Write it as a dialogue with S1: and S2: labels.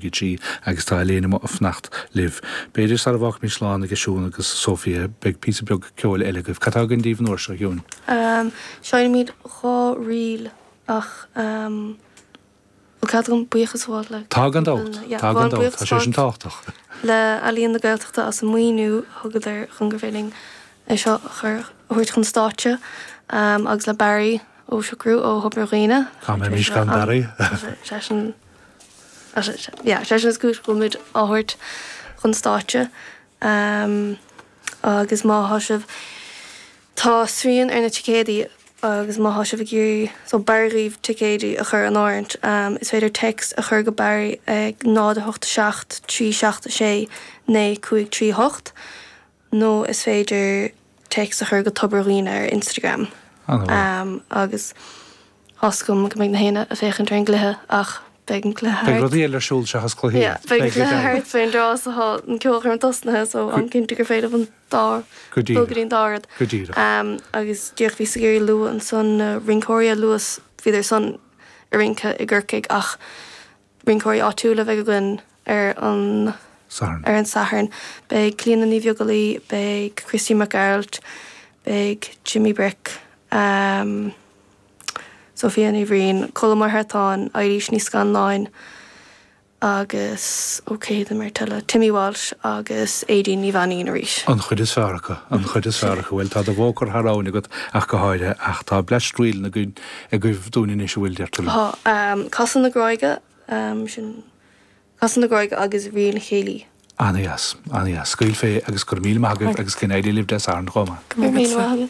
S1: 3 agus tá Elaine amuigh ag fanacht libh. B'fhéidir sara bhfágfaimid slán aige Siún agus Sophia, beidh píosa beag ceoil eile agaibh. Cad tá againn daoibh an uair seo, a Shiúin?
S2: Seinnfimid 2 ríl ach bhfuil cead agam buíochas a ghabháil le.
S1: Tá gan dabht, tá gan dabht, tá sé sin tábhachtach.
S2: Le Ealaíon na Gaeltachta as an maoiniú a thugadar chun gur féidir linn é seo a chur, a thabhairt chun stáitse agus le Barry Ó Siochrú ó Thobar Dhuibhne.
S1: Cá mbeimis gan Barry?
S2: Seisean, yeah, seisean is cúis go bhfuil muid á thabhairt chun stáitse. Agus má thá sibh, tá srian ar na ticéadaí agus má thá sibh ag iarraidh, so b'fhearr dhaoibh ticéidí a chur in áirithint, is féidir text a chur go Barry ag 0 8 7 3 7 6 9 5 3 8. nó is féidir téacs a chur go Tobar Dhuibhne ar Instagram. Agus tá's agam go mbeidh na héinne ag féachaint ar an gcluiche ach beidh an cluiche thart.
S1: Beidh rudaí eile ar siúl seachas cluichí.
S2: Yeah, beidh an cluiche thart fén dtráth so tá an ceolchoirm tosnaithe so táim cinnte gur féidir an dá
S1: dul
S2: go dtí an dá rud.
S1: Go díreach.
S2: Agus díreach bhíos ag iarraidh lua ansan na rinceoirí a lua, bhíodar san ag rince i gCorcaigh ach Rinceoirí áitiúla a bheidh againn ar an
S1: Satharn.
S2: Ar an Satharn. Beidh Clíona Ní Bheaglaoí, beidh Christy Mac Gearailt, beidh Jimmy Bric, Sophia Ní Bhriain, Colm Ó hEartáin, Eilís Ní Scanláin agus, ó cé hiad an mbeirt eile, Timmy Walsh agus Aedín Ní Mhainín arís.
S1: An chuid is fearr acu, an chuid is fearr acu. Bhuel, tá do bhóthar thar abhainn agat ach go háirithe, ach tá bleaist ríleanna againn agaibh dúinn anois, an bhfuil, deir tú liom?
S2: Tá. Casadh na Gráige, sin Casadh na Gráige agus Ríl Chéilí.
S1: Ana-dheas, ana-dheas. Scaoil fé agus go raibh míle maith agaibh agus go n-éirí libh Dé Sathairn chomh maith.
S2: Go raibh míle maith agat.